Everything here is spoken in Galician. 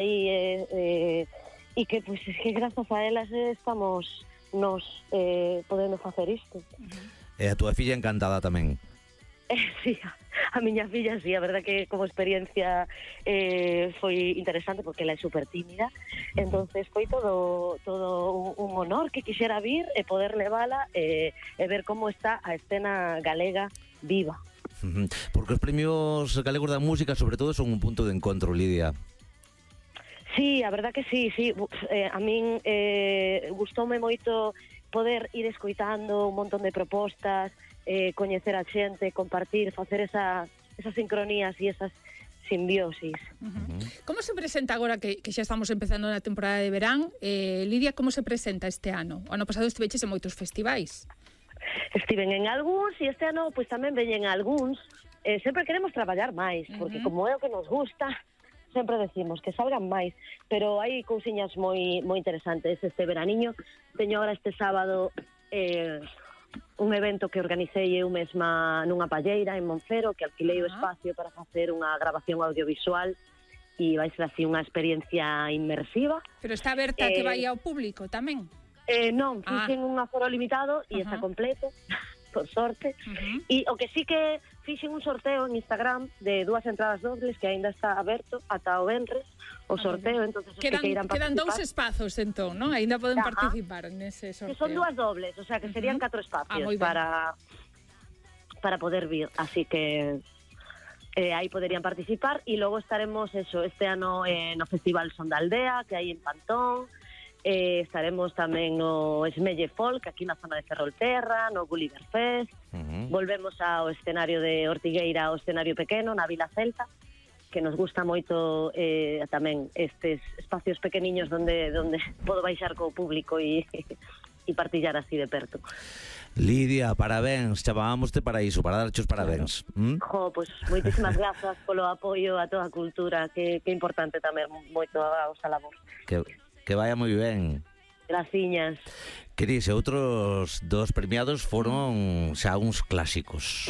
e que, pois, es que grazas a elas estamos nos podendo facer isto. E a túa filla encantada tamén. Sí, a miña filla, sí, a verdad que como experiencia foi interesante porque ela é super tímida, entonces foi todo un honor que quixera vir e poder levala e ver como está a escena galega viva. Porque os premios galegos da música, sobre todo, son un punto de encontro, Lidia. Sí, a verdad que sí. A min gustoume moito poder ir escoitando un montón de propostas, coñecer a xente, compartir, facer esas sincronías e esas simbiosis. Como se presenta agora que xa estamos empezando na temporada de verán? Lidia, como se presenta este ano? O ano pasado estiveches en moitos festivais. Estiven en algúns e este ano pois tamén veñen algúns. Sempre queremos traballar máis, porque como é o que nos gusta, sempre decimos que salgan máis, pero hai cousiñas moi interesantes este veraniño. Teño agora este sábado un evento que organicei eu mesma nunha palleira en Monfero, que alquilei o espacio para facer unha grabación audiovisual e vai ser así unha experiencia inmersiva. Pero está aberta que vai ao público tamén? Non, fixen un aforo limitado e está completo, por sorte. E o que sí que fixen un sorteo en Instagram de 2 entradas dobles que aínda está aberto ata o venres o sorteo, entonces os que queiran participar. Quedan 2 espazos, entón, non? Aínda poden participar nese sorteo. Que son 2 dobles, o sea, que serían 4 espacios para poder vir, así que aí poderían participar e logo estaremos este ano no Festival Son da Aldea, que hai en Pantón. Estaremos tamén no Esmelle Folk, aquí na zona de Ferrolterra, no Gulliver Fest. Volvemos ao escenario de Ortigueira, ao escenario pequeno, na Vila Celta, que nos gusta moito tamén estes espacios pequeniños donde podo baixar co público e partillar así de perto. Lidia, parabéns, chamábamoste para iso, para darche os parabéns. Pois moitísimas grazas polo apoio a toda a cultura, que é importante tamén moito a vosa labor. Que vaya moi ben. Graciñas. Cris, outros dos premiados foron xa uns clásicos.